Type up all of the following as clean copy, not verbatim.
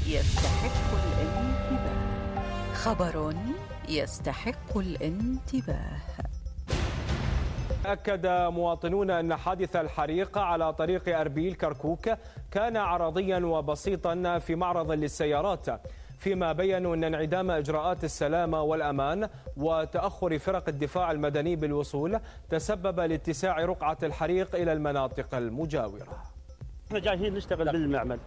يستحق الانتباه. خبر يستحق الانتباه. أكد مواطنون أن حادث الحريق على طريق أربيل كركوك كان عرضيا وبسيطا في معرض للسيارات، فيما بيّنوا أن انعدام إجراءات السلامة والأمان وتأخر فرق الدفاع المدني بالوصول تسبب لاتساع رقعة الحريق إلى المناطق المجاورة. احنا جايين نشتغل بالمعمل.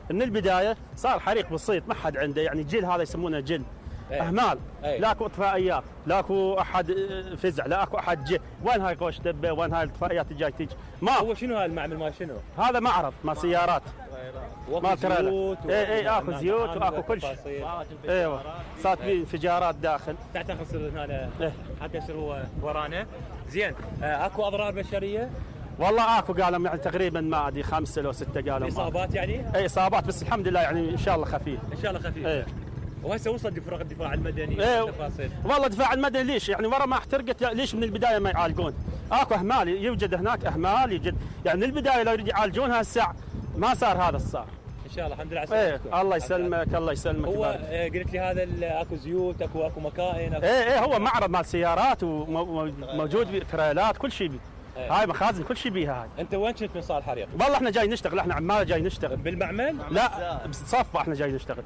من البداية صار حريق بسيط، ما حد عنده، يعني جيل هذا يسمونه جيل. اهمال، لاكو اطفائيات، لاكو احد فزع، لاكو احد جه، وين هاي قوش دبه، وين هاي الاطفائيات اللي جاي تيجي؟ ما هو شنو هاي المعمل مال شنو؟ هذا معرض مال سيارات. ما زيوت اكو زيوت واكو كل شيء. ايوه صارت في انفجارات داخل. تعال خسر هنا حتى يصير هو ورانا. زين، اكو اضرار بشريه؟ والله اكو قالوا يعني تقريبا ما ادري 5 أو 6 قالوا. اصابات يعني؟ اي اصابات، بس الحمد لله يعني ان شاء الله خفيف. ان شاء الله خفيف. وهسه وصل فرق الدفاع المدني تفاصيل. والله الدفاع المدني ليش يعني ورا ما احترقت ليش من البدايه ما يعالجون؟ اكو اهمال، يوجد هناك اهمال، يوجد يعني من البدايه لو يريد يعالجونها الساعه ما صار هذا الصار. ان شاء الله الحمد لله على سلامتكم. الله يسلمك الله يسلمك. هو قلت لي هذا اكو زيوت، اكو مكائن، هو معرض مال سيارات وموجود تريلات كل شيء. هاي مخازن كل شيء بيها هاي. انت وين كنت من صار الحريق؟ والله احنا جاي نشتغل، احنا عمال جاي نشتغل. بالمعمل؟ لا بصفة احنا جاي نشتغل.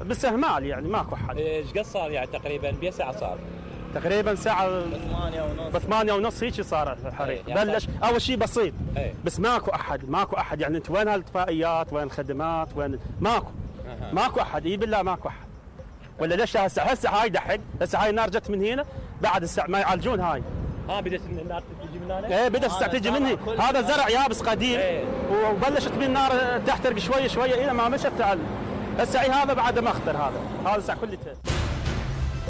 بس اهمال يعني ماكو حد. ايش قد صار يعني تقريبا بأي ساعة صار؟ تقريبا ساعة ب8:30 هيك صار الحريق. يعني بلش اول شيء بسيط. بس ماكو احد يعني انت وين هالاطفائيات، وين الخدمات، وين ماكو احد. اي بالله ماكو احد. ولا ليش هسه هاي دحق، هسه هاي النار جت من هنا بعد الساعة ما يعالجون هاي. بدت النار تجي من هنا؟ بدت الساعة تجي مني. هذا زرع يابس قديم. وبلشت من النار تحترق شوي الى ما مشت تعال. هسه هذا بعد ما اخطر، هذا الساعة كلها.